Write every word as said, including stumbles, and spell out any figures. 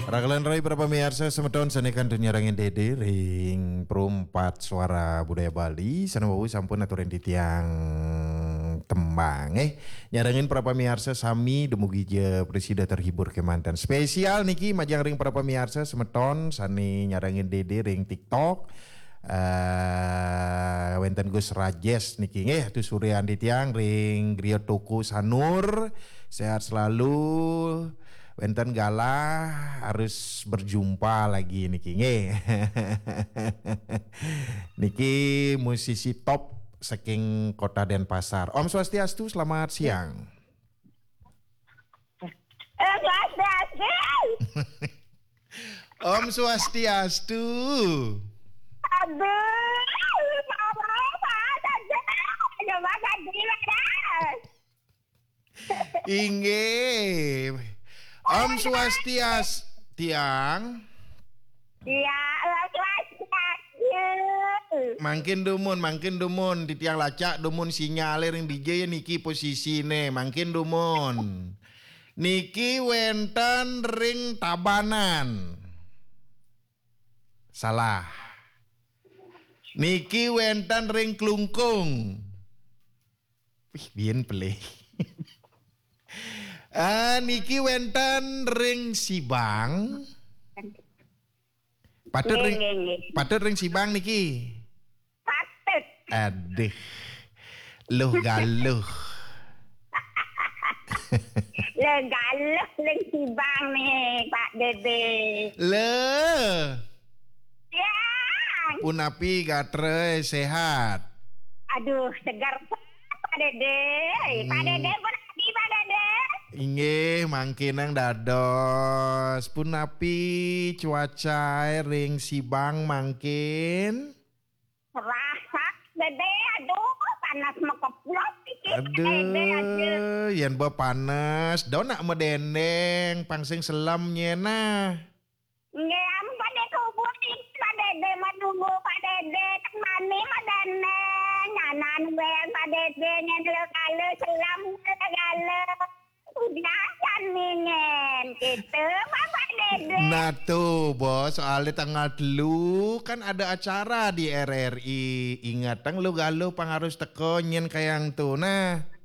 Rakelan rai para pamiarsa semeton sane kantun nyarengin Dede ring Perumpat Suara Budaya Bali, sane wau sampun aturin titiang tembang, eh. Nyarengin para pamiarsa sami dumugi ja prasida terhibur kemanten. Spesial niki majeng ring para pamiarsa semeton sane nyarengin Dede ring TikTok. Eh, wenten Gus Rajes niki nggih, aturin titiang ring Griya Toko Sanur. Sehat selalu. Wenten galah harus berjumpa lagi niki nggih. Niki musisi top saking Kota Denpasar. Om Swastiastu, selamat siang. Eh, Swastiastu. Om Swastiastu. Aduh, apa, apa, apa, apa, apa, apa, apa, Inggih. Om Swastiastu, tiang. Ya, Swastiastu. Mangkin dumun, mangkin dumun, titiang lacak dumun sinyale ring dija ya niki posisine, mangkin dumun. Niki wenten ring Tabanan. Salah. Niki wenten ring Klungkung. Wih, bien pelih. Ah, niki wenten ring Sibang. Patut ring patut ring Sibang niki. Patut. Aduh. Luh galuh. Luh galuh ring Sibang nih, Pak Dede. Luh. Ya. Punapi gatra, sehat? Aduh, segar Pak Dede. Pak Dede, punapi Pak Dede? Inggih, mangkinang dados. Punapi cuacae ring Sibang mangkin? Rasak Dede, aduh, panas mekeplot iki. Dede, aduh. Aduh, yen ba panas, donak medendeng, pang sing selem nyena. Nggih, ampun deh kubur iki Pak Dede menunggu Pak Dede temani medendeng. Nyanan gue Pak Dede nyen lo kale selam lo kale. Udah kan ningen gitu Bapak Dede. Nah tuh bos, soalnya tanggal telu kan ada acara di R R I. Ingat tang lu galuh pang harus teko nyen kayang tuh. Nah.